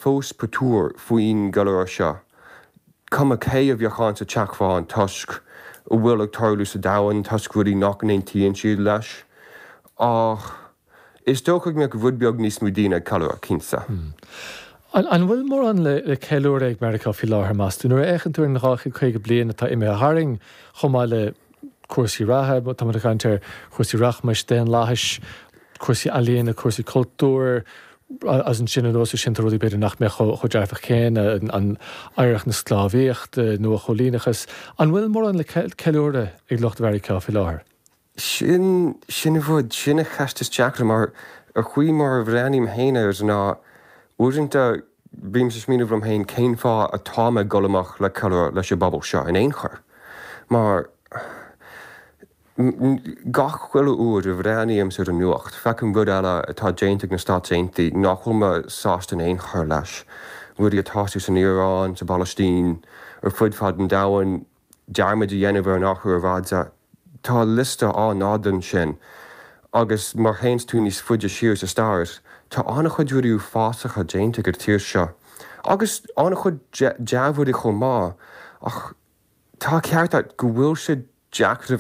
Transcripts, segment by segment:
fós patuar faoin gceiliúradh seo, cuma cé a bheadh ann sa Teach Bhán toisc a bhfuil ag tarlú sa domhan, toisc rudaí nach n-aontaíonn siad leis. Ach is dócha go mbeadh rud beag níos mó daoine ag ceiliúradh, cinnte. An bhfuil mórán le ceiliúradh ag Meiriceá faoi láthair, meas tú? Nuair a fhéachann tú ar an 250 bliain atá imithe tharainn, chomh maith le cúrsaí reatha, tá muid ag caint ar chúrsaí rachmais, daonlathais, cúrsaí ealaíona, cúrsaí cultúir, agus ansin anuas air sin tá rudaí b'fhéidir nach mbeadh chomh dearfach céanna, an oidhreacht na sclábhaíochta, nuachoilíneachas. An bhfuil mórán le ceiliúradh ag lucht Mheiriceá faoi láthair? Sin, sin an rud, sin an cheist is deacra mar an chaoi mar a bhreathnaím féin air ná uaireanta bímse ag smaoineamh liom féin cén fáth atá mé ag dul amach le ceiliúradh leis an bpobal seo in aon chor mar gach uile uair a bhreathnaímse ar an nuacht feicim rud eile atá déanta ag na Stáit Aontaithe nach bhfuil mé sásta in aon chor leis, rudaí ag tosú san Iaráin, sa bPalaistín, ar fud fad an domhain. dearmad a dhéanamh ar an athrú aeráide. Tá liosta an-fhada ansin agus má théanns tú níos faide siar sa stair, tá an-chuid rudaí uafásacha déanta ag an tír seo agus an-chuid dea-rudaí chomh maith ach tá ceart agat go bhfuil sé deacair a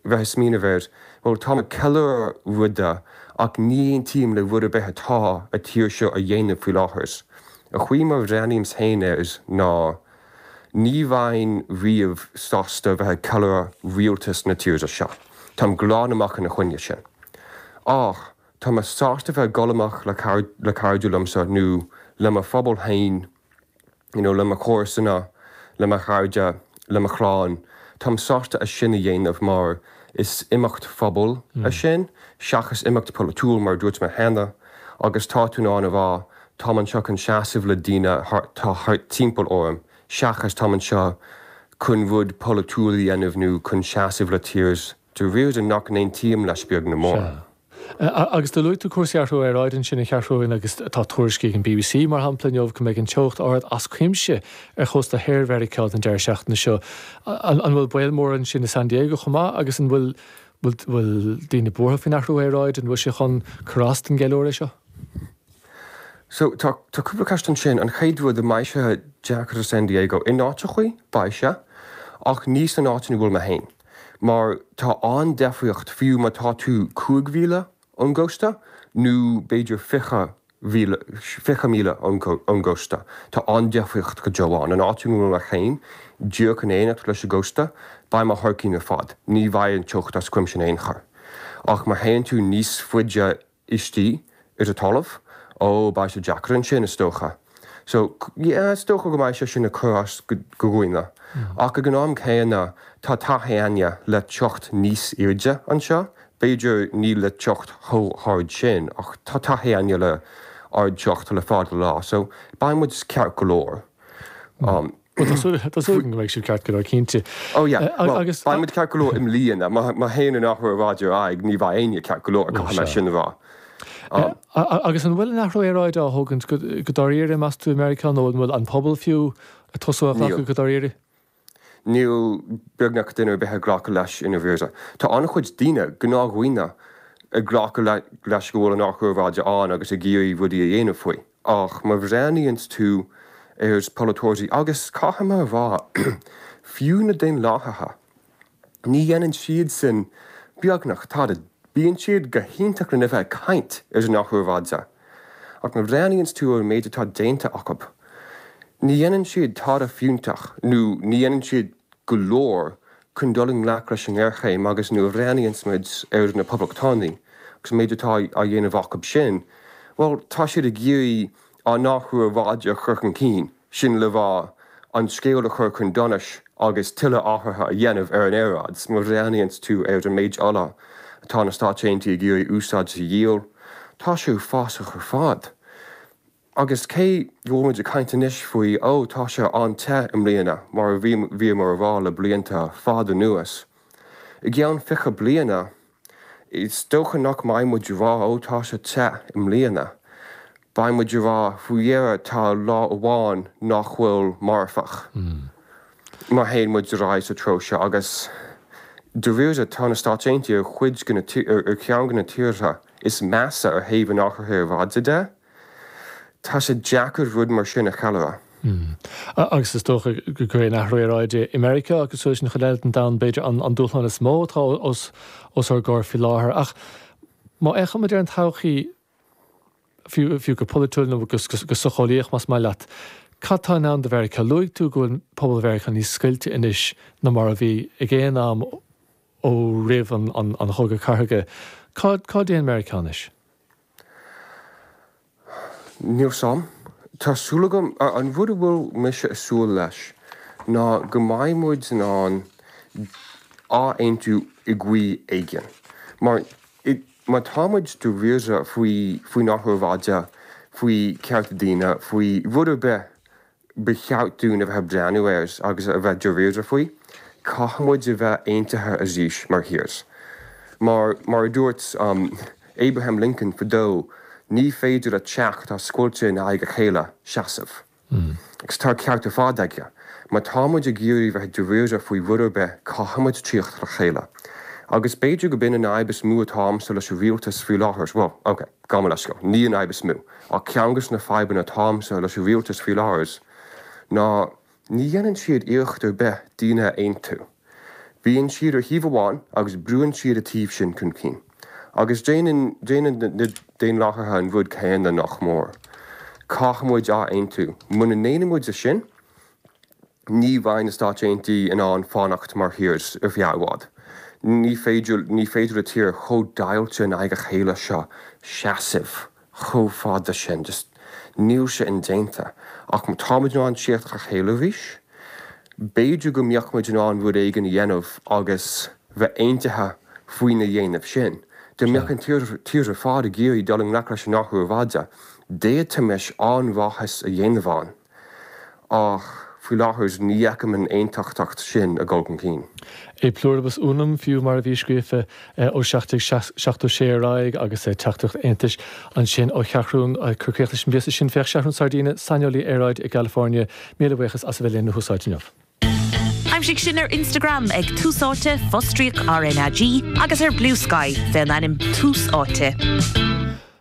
bheith ag smaoineamh air, bhuel táim ag ceiliúradh ruda ach ní aontaím le rud ar bith atá an tír seo a dhéanamh faoi láthair. An chaoi mar a bhreathnaímse féin air ná. Ní bheinn riamh sásta a bheith ag ceiliúradh rialtas na tíre seo. Táim glan amach ina choinne sin. Ach tá mé sásta bheith ag dul amach le le cairde liomsa nó le mo phobal féin, you know, le mo chomharsana, le mo chairde, le mo chlann. Táim sásta é sin a dhéanamh mar is imeacht phobail é sin seachas imeacht polaitiúil mar a dúirt mé cheana agus tá tú in ann a rá Táim anseo chun seasamh le daoine atá thart timpeall orm, seachas táim anseo chun rud polaitiúil a dhéanamh nó chun seasamh le tír dáiríre nach n-aontaím leis beag ná mór. Sea. Agus do luaigh tú cúrsaí athrú aeráide ansin a Sheathrúin agus tá tuairiscí ag an bbc, mar shampla, inniu go mbeidh an teocht ard as cuimse ar chósta thoir Mheiriceá don deireadh seachtaine seo. An bhfuil baol mór ansin i San Diego chomh maith agus an bhfuil bhfuil daoine buartha faoin athrú aeráide? An bhfuil sé chun cur as don gceiliúradh seo? So, tá, tá cúpla ceist ansin. An chéad rud, an mbeidh sé deacair i San Diego? In áiteachaí, beidh sé, ach ní san áit ina bhfuil mé féin. Mar tá an-deifríocht, fiú má tá tú 5 mhíle ón gcósta nó b'fhéidir 20 mhíle, 20 míle ón gcósta, tá an-deifríocht go deo ann. An áit ina bhfuil mé féin, díreach in éineacht leis an gcósta, beidh mé thar cionn ar fad. Ní bheidh an teocht as cuimse in aon chor. Ach má théann tú níos faide istigh ar an talamh, ó, beidh sé deacair ansin, is dócha. So, yeah, is dócha go mbeidh sé sin ag cur as do dhaoine. Ach ag an am céanna, tá taithí againne le teocht níos airde anseo, b'fhéidir ní le teocht chomh hard sin, ach tá taithí againne le ardteocht le fada lá, so beidh muid ceart go leor. Bhuel, tá súil tá súil agam go mbeidh sibh ceart go leor, cinnte. Oh yeah, well, Agus beidh muid ceart go leor i mbliana. Má má théann an athrú aeráide ar aghaidh, ní bheidh éinne ceart go leor, caithfidh mé sin a rá. Agus an bhfuil an athrú aeráide á thógaint go go dáiríre, meas tú, i Meiriceá, nó an bhfuil an pobal fiú ag tosú á ghlacadh go dáiríre? Níl beagnach duine ar bith ag glacadh leis i ndáiríre. Tá an-chuid daoine, gnáthdhaoine, ag glacadh leis go bhfuil an athrú aeráide ann agus ag iarraidh rudaí a dhéanamh faoi. Ach má bhreathnaíonns tú ar polaiteoirí, agus caithfidh mé a rá, fiú na Daonlathaithe, ní dhéanann siadsan beagnach tada. Bíonn siad go hiontach lena bheith ag caint ar an athrú aeráide, ach má bhreathnaíonns tú ar an méid atá déanta acu, ní dhéanann siad tada fiúntach nó ní dhéanann siad go leor chun dul i ngleic leis an ngéarchéim agus nuair a bhreathnaíonns muid ar na Poblachtánaigh agus an méid atá á dhéanamh acu sin, bhuel, tá siad ag iarraidh an athrú aeráide a chur chun cinn, sin le rá, an scéal a chur chun donais agus tuilleadh athruithe a dhéanamh ar an aeráid. Má bhreathnaíonns tú ar an méid ola atá na Stáit Aontaithe ag iarraidh úsáid a dhíol, tá sé uafásach ar fad. Agus cé go bhfuil muid ag caint anois faoi, ó, tá sé an-te i mbliana, mar a bhíomar a rá le blianta fada anuas, i gceann 20 bliana, is dócha nach mbeidh muid ag rá, ó, tá sé te i mbliana. Beidh muid ag rá, faoi dheireadh tá lá amháin nach bhfuil marfach. Má théann muid ar aghaidh sa treo seo, agus dáiríre tá na Stáit Aontaithe ar chuid de na, ar cheann de na tíortha is measa ar thaobh an athraithe aeráide de. Tá sé deacair rud mar sin a cheiliúradh. Agus is dócha gurb é an athrú aeráide i Meiriceá, cosúil leis an chuid eile den domhan, b'fhéidir, an dúshlán is mó atá os ár gcomhair faoi láthair. Ach má fhéachaimid ar an todhchaí, fiú go polaitiúil nó go socheolaíoch más maith leat, cad tá i ndán do Mheiriceá? Luaigh tú go bhfuil pobal Mheiriceá níos scoilte anois ná mar a bhí ag aon am ó roimh an Chogadh Cathartha. Cá dtéann Meiriceá anois? Níl 's a'm. Tá súil agam, an rud a bhfuil mise ag súil leis ná go mbeidh muid in ann athaontú i gcaoi éigin. Mar má tá muid dáiríre faoi, faoin athrú aeráide, faoi chearta daoine, faoi rud ar bith, ba cheart dúinn a bheith ag breathnú air agus a bheith dáiríre faoi. Caithfidh muid a bheith aontaithe arís mar thír. Mar, mar a dúirt Abraham Lincoln fadó, ní féidir le teach atá scoilte in aghaidh a chéile seasamh. Agus tá an ceart ar fad aige. Má tá muid ag iarraidh bheith dáiríre faoi rud ar bith, caithfidh muid tíocht le chéile. Agus b'fhéidir go b'in an fhadhb is mó atá a'msa leis an rialtas faoi láthair, bhuel, ok, gabh mo leithscéal, ní an fhadhb is mó. Ach ceann de na fadhbanna atá a'msa leis an rialtas faoi láthair ná ní dhéanann siad iarracht ar bith daoine a aontú. Bíonn siad ar thaobh amháin agus brúann siad a taobh sin chun cinn. Agus déanann déanann na Daonlathaithe an rud céanna nach mór. Caithfidh muid athaontú. Muna ndéanann muid é sin, ní bheidh na Stáit Aontaithe in ann fanacht mar thír ar feadh i bhfad. Ní féidir, ní féidir le tír chomh deighilte in aghaidh a chéile seo seasamh chomh fada sin. Just níl sé indéanta. Ach má tá muid in ann tíocht le chéile arís, b'fhéidir go mbeadh muid in ann rud éigin a dhéanamh agus bheith aontaithe faoina dhéanamh sin. Dá mbeadh an tír ar fad ag iarraidh dul i ngleic leis an athrú aeráide, d'fhéadfaimis an-mhaitheas a dhéanamh ann. Ach faoi láthair ní fheicim an aontachtacht sin ag dul chun cinn. E pluribus unum, fiú, mar a bhí scríofa ó 1776 ar aghaidh agus teachtaireacht aontais ansin ó Sheathrún. Ag cur críoch leis an bpíosa sin, féach Seathrún Sardina, saineolaí aeráide i gCalifornia. Míle buíochas as a bheith linn ar Thús Áite inniu. Aimsigh sinn ar Instagram ag Tús Áite, fostríoc RnaG, agus ar Bluesky fén ainm Tús Áite.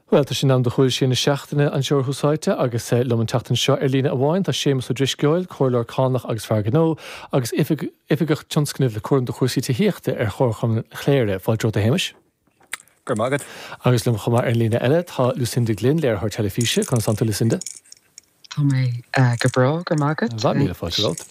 Bhuel, tá sé in am do Shúil Siar na Seachtaine anseo ar Thús Áite agus liom an tseachtain seo ar líne amháin tá Séamus Ó Drisceoil, Comhairleoir Cánach agus Fear Gnó agus Oifigeach Tionscnaimh le cúram do chúrsaí tithíochta ar Chomharchumann Chléire. Fáilte romhat a Shéamais. Go raibh maith agat. Agus liom chomh maith ar an líne eile tá Lucinda Glynn, léiritheoir teilifíse. Conas tánn tú Lucinda? Tá mé go breá, go raibh maith agat. Míle fáilte romhat.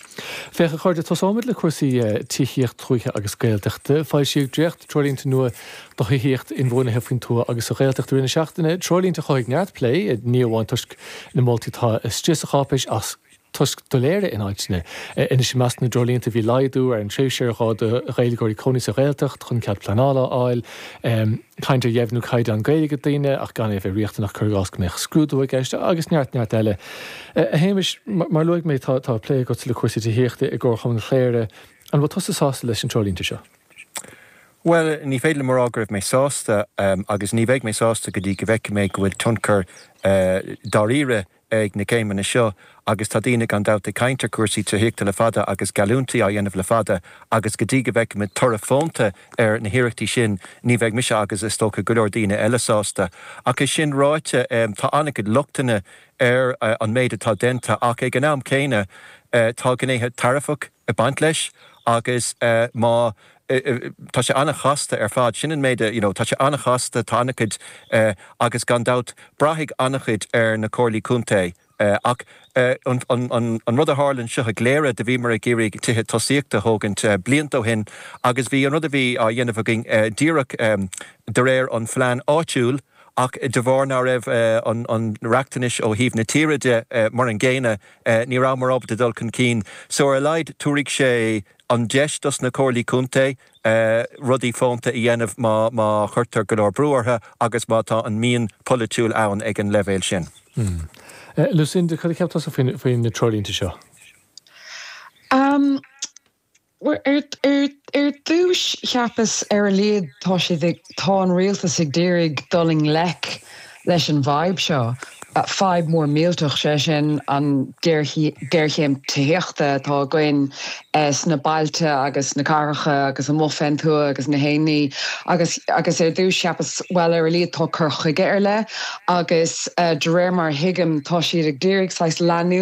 Féach, a chairde, tosóimid le cúrsaí tithíocht tuaithe agus Gaeltachta. Foilsíodh dréacht-treoirlínte nua do thithíocht inbhuanaithe faoin tuath agus sa Ghaeltacht i rith na seachtaine, treoirlínte a chothaigh neart plé, ní amháin toisc na moltaí atá istigh sa cháipéis ach toisc doiléire in áiteanna. Anois, i measc na dtreoirlínte bhí laghdú ar an tréimhse ar gá do Ghaeilgeoirí cónaí sa Ghaeltacht chun cead pleanála a fháil, Caint ar dheimhniú caighdeán Gaeilge do dhaoine ach gan é a bheith riachtanach, cuir i gcás go mbeadh scrúdú i gceist, agus neart, neart eile. A Shéamais, mar a luaigh mé, tá plé agatsa le cúrsaí tithíochta i gComharchumann Chléire. An bhfuil tusa sásta leis na treoirlínte seo? Bhuel, ní féidir liom a rá go raibh mé sásta agus ní bheidh mé sásta go dtí go bhfeicfidh mé go bhfuil tionchar dáiríre ag na céimeanna seo agus tá daoine gan dabht ag caint ar chúrsaí tithíochta le fada agus geallúintí á dhéanamh le fada agus go dtí go bhfeicfimid toradh fónta ar na hiarrachtaí sin ní bheidh mise agus is dócha go leor daoine eile sásta. Ach é sin ráite tá an-chuid lochtanna ar an méid atá déanta ach ag an am céanna tá gnéithe tairfeach ag baint leis agus má tá sé an-chasta ar fad, sin an méid a, you know, tá sé an-chasta, tá an-chuid agus gan dabht braithfidh an-chuid ar na comhairlí contae ach an rud a tharla anseo i gCléire, do bhíomar ag iarraidh tithe tosaíochta a thógaint blianta ó shin agus bhí an rud a bhí á dhéanamh againn díreach de réir an phlean áitiúil ach de bharr ná raibh an riachtanais ó thaobh na tíre de mar an gcéanna, Ní rabhamar ábalta dul chun cinn. So ar a laghad tabharfaidh sé an deis dos na comhairlí contae rudaí fónta a dhéanamh má má chuirtear go leor brú orthu agus má tá an mian polaitiúil ann ag an leibhéal sin. Lucinda, cad a cheap tusa faoi na treoirlínte seo? Bhuel, ar dtús, cheapas ar a laghad tá siad ag, tá an rialtas ag d'iarraidh dul i ngleic leis an bhfadhb seo. Fadhb mór millteach, sé sin an géarchéim tithíochta atá againn sna bailte agus sna cathracha agus amuigh fén tuath agus na haon ní. Agus agus ar dtús cheapas, bhuel ar a laghad tá cur chuige ar leith agus de réir mar a thuigim tá siad ag iarraidh saghas leanúint.